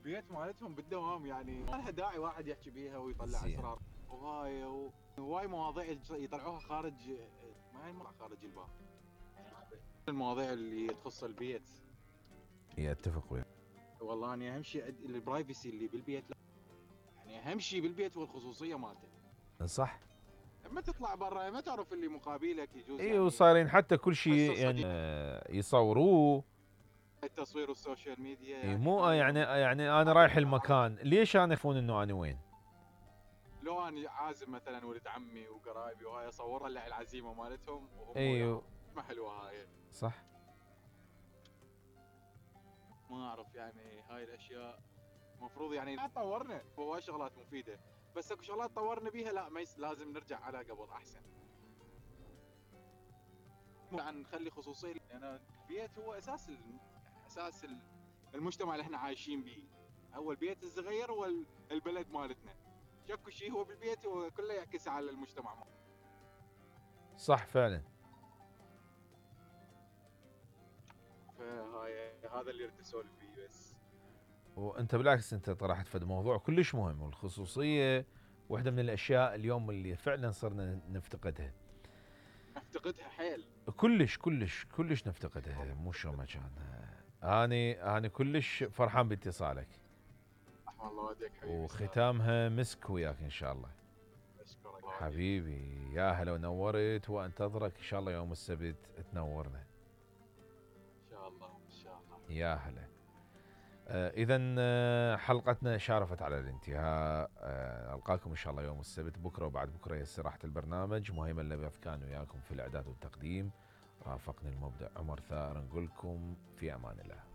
البيت مالتهم بالدوام، يعني ما لها داعي واحد يحكي بيها ويطلع اسرار وهاي مواضيع يطلعوها خارج، ما ينفع خارج الباب. المواضيع اللي تخص البيت. اتفق وياك والله اني اهم شيء البرايفسي اللي بالبيت، يعني اهم شيء بالبيت هو الخصوصيه مالته. صح. لما تطلع برا ما تعرف اللي مقابلك يجوز اي يعني وصايرين حتى كل شيء يعني يصوروه. التصوير والسوشيال ميديا اي يعني مو هاي يعني انا رايح المكان ليش انا يعرفون انه انا وين؟ لو انا عازم مثلا ولد عمي وقرايبي وهاي اصور لها العزيمه مالتهم وهم ايوه ما حلوه هاي. صح. ما اعرف يعني هاي الاشياء المفروض يعني لا تطورنا، هو شغلات مفيده بس اكو شغلات طورنا بيها لا ما لازم نرجع على قبل احسن. يعني نخلي خصوصيه، لان البيت هو اساس اساس المجتمع اللي احنا عايشين به. هو البيت الصغير هو البلد مالتنا، شكو شيء هو بالبيت وكله يعكس على المجتمع مالتنا. صح فعلا. فهاي هذا اللي اريد اسولف فيه بس. وانت بالعكس انت طرحت فد موضوع كلش مهم، والخصوصيه واحده من الاشياء اليوم اللي فعلا صرنا نفتقدها. افتقدها حيل. كلش كلش كلش نفتقدها، مو شو ما كان. اني كلش فرحان باتصالك. رحم الله والديك حبيبي. وختامها مسك وياك ان شاء الله. اشكرك حبيبي يا هلا ونورت، وانتظرك ان شاء الله يوم السبت تنورنا. ان شاء الله ان شاء الله. يا هلا. اذا حلقتنا شارفت على الانتهاء. القاكم ان شاء الله يوم السبت، بكره وبعد بكره هي استراحه البرنامج. مهيمن اللبث كان وياكم في الاعداد والتقديم، رافقني المبدع عمر ثائر، نقول لكم في امان الله.